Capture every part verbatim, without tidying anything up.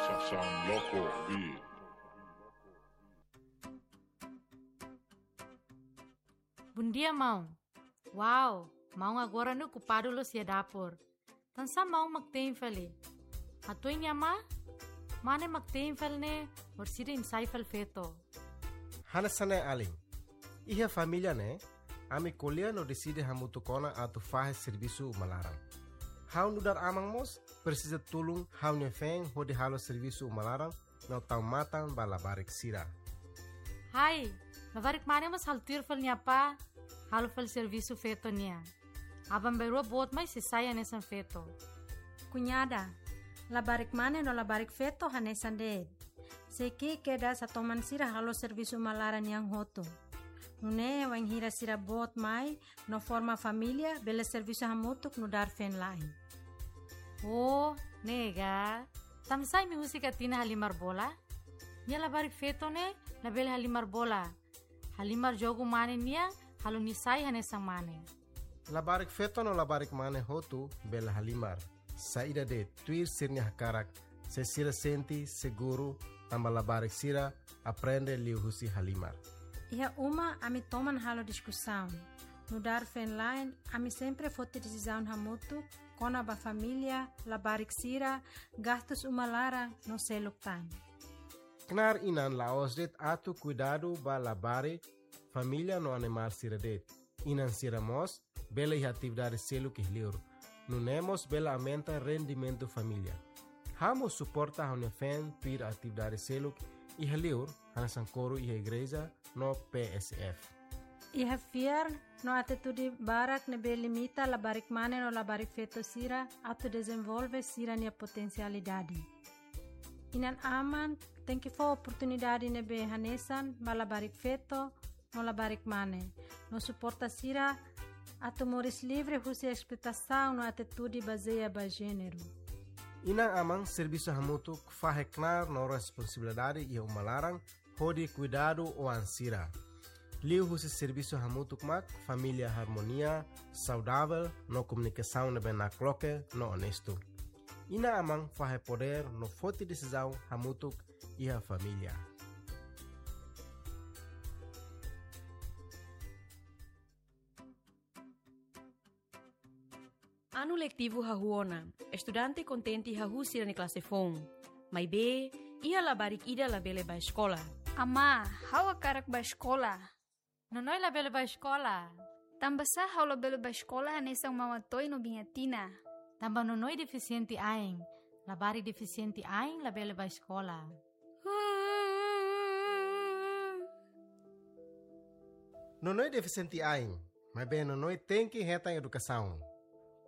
Edukasaun Loko Beat. Bondia, maun. Wow, maun agora ne'e okupadu loos iha dapur. Tansá maun mak tein fali? Hatudu nia amá, mane mak tein fali ne'e, orsida imi sai fali feto. Hanesan ne'e alin. Iha família ne'e, ami ko'alia no deside hamutuk ona atu fahe servisu uma laran. Ha'u nu'udar aman mós presiza tulun ha'u-nia feen hodi halo servisu uma laran no tau matan ba labarik sira. Hai, labarik mane mós halo tuir fali nia apá, halo fali servisu feto nian. Aban-bainrua boot mai sei sai hanesan feto. Kuñada, labarik mane no labarik feto hanesan de'it. Sei ki'ik kedas hatoman sira halo servisu uma laran nian hotu. Nune'e wainhira sira boot mai no forma família, bele servisu hamutuk nu'udar feen-la'en. Oh, ne'e ka. Tansá imi husik Atina halimar bola? Nia labarik feto ne'e labele halimar bola. Halimar jogu mane nian, halo nia sai hanesan mane. Labarik feto no labarik mane hotu bele halimar. Saida de'it, tuir sira-nia hakarak, se sira sente seguru, tanba labarik sira aprende liuhusi halimar. Iha uma ami toman halo diskusaun. Nu'udar feen-la'en, ami sempre foti desizaun hamutuk kona-ba família, labarik sira, gastus uma laran no seluk tan. Knaar inan la'ós de'it atu kuidadu ba labarik, família no animál sira de'it. Inan sira mós bele iha atividade seluk iha liur. Nune'e mós bele aumenta rendimentu família. Ha'u mós suporta ha'u-nia feen tuir atividade seluk iha liur, hanesan koru iha igreja no P S F. Iha fiar no atitude barak ne'ebé limita labarik mane no labarik feto sira atu dezenvolve sira-nia potensialidade. Inan-aman tenke fó oportunidade ne'ebé hanesan ba labarik feto no labarik mane, no suporta sira atu moris livre husi espetasaun no atitude bazeia ba jéneru. Inan-aman servisu hamutuk fahe knaar no responsabilidade iha uma laran hodi kuidadu oan sira. Liuhusi servisu hamutuk mak família harmonia, saudavel no komunikasaun ne'ebé nakloke no onestu. Inan-aman fahe podér no foti desizaun hamutuk iha família. Anu letivu hahú ona, estudante kontente hahú sira-nia klase foun. Maibé, iha labarik ida labele bá eskola. Amá, ha'u hakarak bá eskola. Nonoi labele bá eskola. Tanbasá ha'u labele bá eskola hanesan Mama Toy no Biin Atina? Tanba Nonoi defisiente ain. Labarik defisiente ain labele bá eskola. Nonoi defisiente ain, maibé Nonoi tenke hetan edukasaun.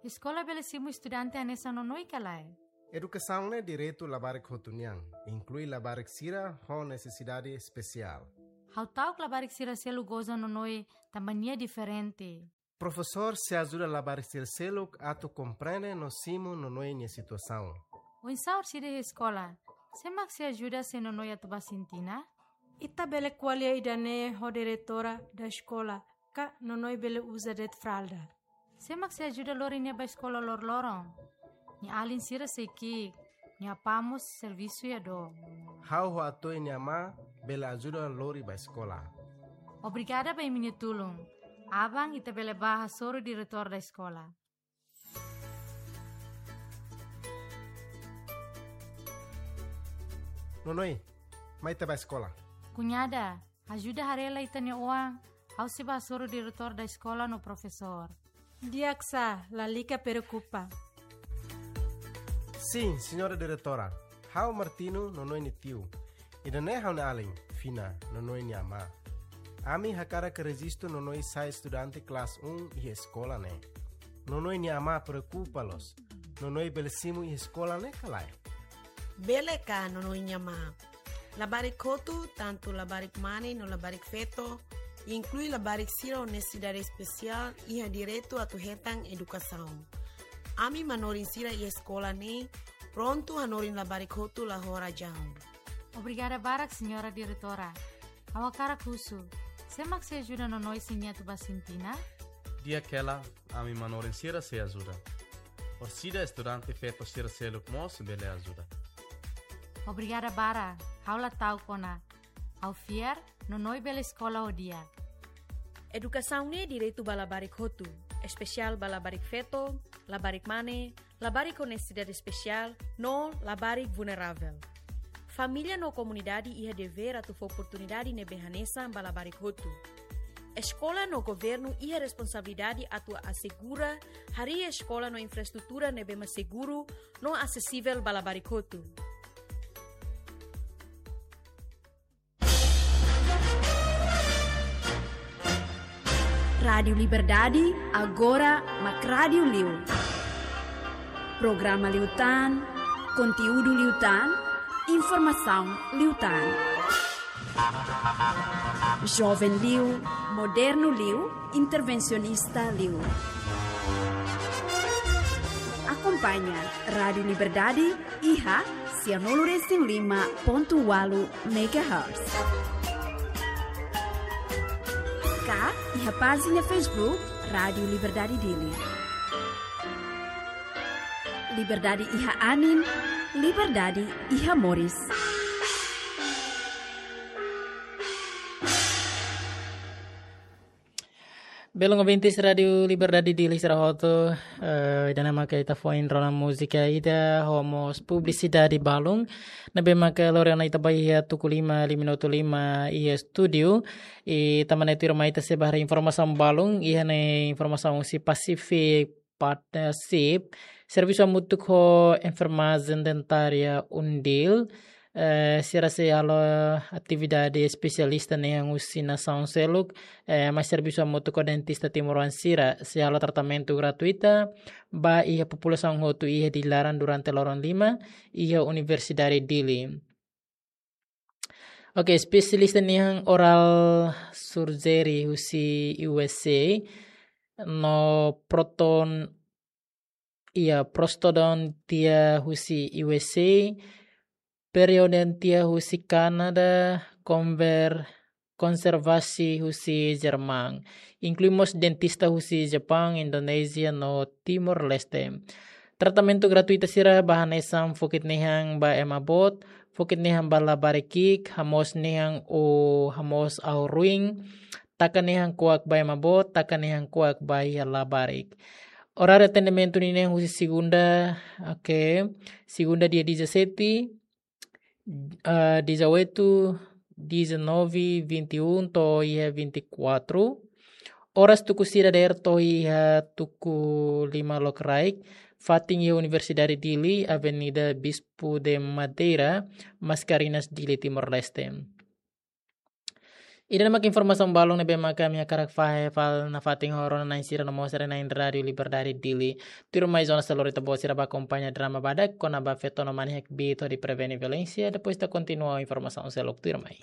Eskola bele simu estudante hanesan Nonoi ka lae? Edukasaun ne'e direitu labarik hotu nian, inklui labarik sira ho nesesidade espesiál. Ha'u ta'uk labarik sira seluk goza Nonoi tanba nia diferente. Profesór sei ajuda labarik sira seluk atu komprende no simu Nonoi nia situasaun. Oinsá orsida iha eskola, sé mak sei ajuda se Nonoi atu bá sin tinan? Ita bele ko'alia ida-ne'e ho diretora da eskola, ka Nonoi bele uza de'it fralda. Sé mak sei ajuda lori nia bá eskola loroloron? Nia alin sira sei ki'ik, nia apá mós servisu iha dook. Ha'u ho Atoy nia amá bele ajuda lori bá eskola. Obrigada ba imi-nia tulun. Aban ita bele bá hasoru diretór da eskola. Nonoi, mai ita bá eskola. Kuñada, ajuda haree lai ita-nia oan, ha'u sei bá hasoru diretór da eskola no profesór. Di'ak sá, lalika preokupa. Sin, señora diretora. Ha'u Martino, Nonoi nia tiu. Ida-ne'e ha'u-nia alin, Fina, Nonoi nia amá. Ami hakarak rejistu Nonoi sai estudante klase um iha eskola ne'e. Nonoi nia amá preokupa loos. Nonoi bele simu iha eskola ne'e ka lae? Bele ka, Nonoi nia amá. Labarik hotu, tantu labarik mane no labarik feto, inklui labarik sira ho nesesidade espesiál, iha direitu atu hetan edukasaun. Ami manorin sira iha eskola ne'e prontu hanorin labarik hotu la ho razaun. Obrigada barak, señora diretora. Ha'u hakarak husu, sé mak sei ajuda Nonoi se nia atu bá sin tinan? Di'ak hela, ami manorin sira sei ajuda. Orsida estudante feto sira seluk mós bele ajuda. Obrigada barak, ha'u la ta'uk ona. Ha'u fiar, Nonoin bele eskola ho di'ak. Edukasaun ne'e direitu ba labarik hotu, espesiál ba labarik feto, labarik mane, labarik ho nesesidade espesiál, no labarik vulneravel. Família no komunidade iha devér atu fó oportunidade ne'ebé hanesan ba labarik hotu. Eskola no governu iha responsabilidade atu asegura harii eskola no infraestrutura ne'ebé mak seguru no asesivel ba labarik hotu. Rádiu Liberdade, agora mak rádiu liu. Programa liután, konteúdu liután, informasaun liután. Joven liu, modernu liu, intervensionista liu. Akompaña Rádiu Liberdade iha sianulu resin lima pontu ualu megahertz. Ka iha pájina Facebook Rádiu Liberdade Dili. Liberdade iha anin, liberdade iha moris. Belun ouvintes Rádiu Liberdade Dili sira hotu, eh, ida-ne'e maka ita foin rona múzika ida ho mós publisidade balun. Ne'ebé maka lori ona ita ba iha tuku lima, lima minutu lima iha estúdiu. I tanba ne'e tuirmai ita sei bá haree informasaun balun, iha ne'e informasaun husi Pacific Partnership, servisu hamutuk ho enfermajen dentária UNDIL, eh, sira sei halo atividade espesialista nian husi nasaun seluk, eh, mai servisu hamutuk ho dentista timoroan sira, sei halo tratamentu gratuita ba iha populasaun hotu iha Dili laran durante loron lima, iha Universidade Dili. Oke, espesialista nian oral surgery husi U S A, no proton, iha prostodontia husi U S A, periodontia husi Kanadá, konver-, konservasi husi Jerman. Inklui mós dentista husi Jepaun, Indonézia, no Timor-Leste. Tratamentu gratuita sira ba hanesan fokit-na'in ba ema boot, fokit-na'in ba labarik ki'ik, hamoos-na'in ou hamoos ahu-ruin, taka-na'in kuak ba ema boot, taka-na'in kuak ba iha labarik. Oráriu atendimentu ninian husi segunda, oke, segunda dia dezassete, ah, dezoito, dezanove, vinte e um, to'o iha vinte e quatro. Oras tuku sira dadeer to'o iha tuku lima lokraik, fatin iha Universidade Dili, Avenida Bispo de Madeira, Mascarenhas, Dili, Timor-Leste. Ida-ne'e mak informasaun balun ne'ebé maka ami hakarak fahe fali nafatin ho rona-na'in sira no mós haree-na'in Rádiu Liberdade Dili. Tuirmai zona selori ita-boot sira bá akompaña drama badak kona-ba feto no mane hakbiit hodi prevene violénsia, depois ita kontinua informasaun seluk, tuirmai.